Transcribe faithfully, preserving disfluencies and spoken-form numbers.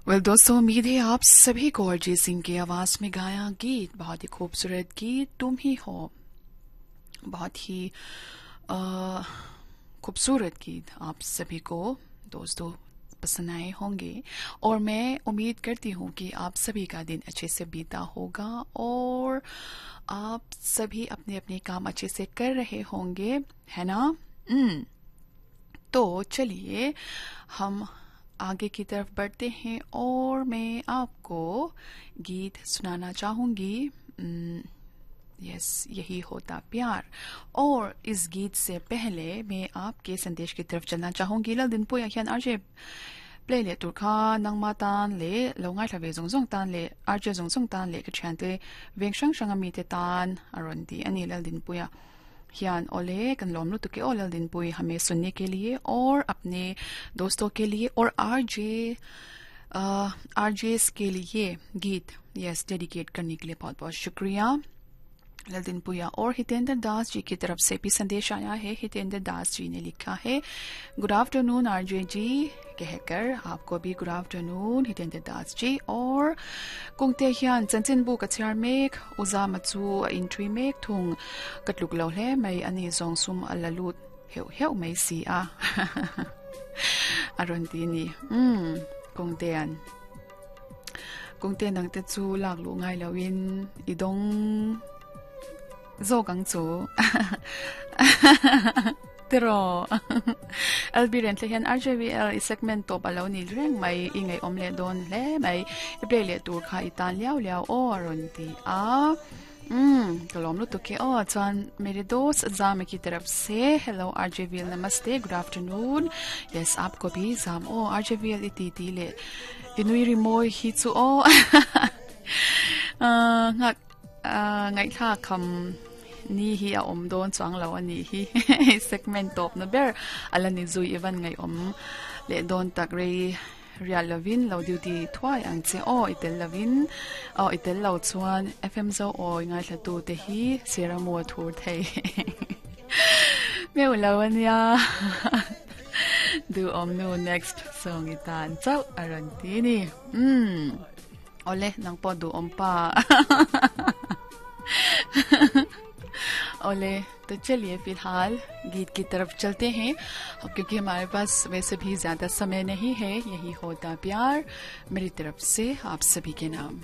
Well दोस्तों, उम्मीद है आप सभी को अरिजीत सिंह की आवाज में गाया गीत, बहुत ही खूबसूरत गीत तुम ही हो, बहुत ही खूबसूरत गीत आप सभी को दोस्तों पसंद आए होंगे। और मैं उम्मीद करती हूँ कि आप सभी का दिन अच्छे से बीता होगा और आप सभी अपने अपने काम अच्छे से कर रहे होंगे, है ना? तो चलिए हम आगे की तरफ बढ़ते हैं और मैं आपको गीत सुनाना चाहूंगी। यस, यही होता प्यार। और इस गीत से पहले मैं आपके संदेश की तरफ चलना चाहूंगी। लल दिन पुया hian R J play le tur kha nangma tan le lo ngai thla ve zong zong tan le R J zong zong tan le ka thian te veng hrang hrang ami te tan aron ti ani lal din puya hian। ओले kan lom lu tu ke ओ lal din pui, हमें सुनने के लिए और अपने दोस्तों के लिए और आरजे आरजेस के लिए गीत, यस, डेडिकेट करने के लिए बहुत बहुत शुक्रिया ललदिन पुया। और हितेंद्र दास जी की तरफ से भी संदेश आया है। हितेंद्र दास जी ने लिखा है, good afternoon R J जी कहकर। आपको भी गुड आफ्टरनून हितेंद्र दास जी। और kungte hian chanchinbu ka chhiar mek, uzama chu a inthui mek thung, ka tluk lo hle mai, ani zawng sum a la lut heuh heuh mai si a, a rawn ti ni. um kungtean kungte nang te chu lak lu ngai loin i dong zawk ang chu tiro. L B ren tle hian R J V L i segment top alo ni reng mai, i ngai om le don hle mai, i play le tur kha i tan liau liau o, aron ti a। हम्म कलम लो तो के ओ chuan मेरे दोस्त जाम की तरफ से, हेलो आरजेवीएल, नमस्ते, good afternoon. Yes, आपको भी जाम ओ। आरजेवीएल iti ti le inui ri moi hi chu o nga ngai tha kham ni hi a om don chuang lo ani hi, segment top na ber ala ni zui, ivan ngai om le don tak, rei rial lovin lo duty thuai ang che o, itel lovin o, itel lo chuan F M zo oi ngai thla tu te hi sera mo thur thei meu lo ania, du om nu, next song itan chau aran ti ni। um ole nang po du om pa। ओले, तो चलिए फिलहाल गीत की तरफ चलते हैं क्योंकि हमारे पास वैसे भी ज़्यादा समय नहीं है। यही होता प्यार मेरी तरफ से आप सभी के नाम।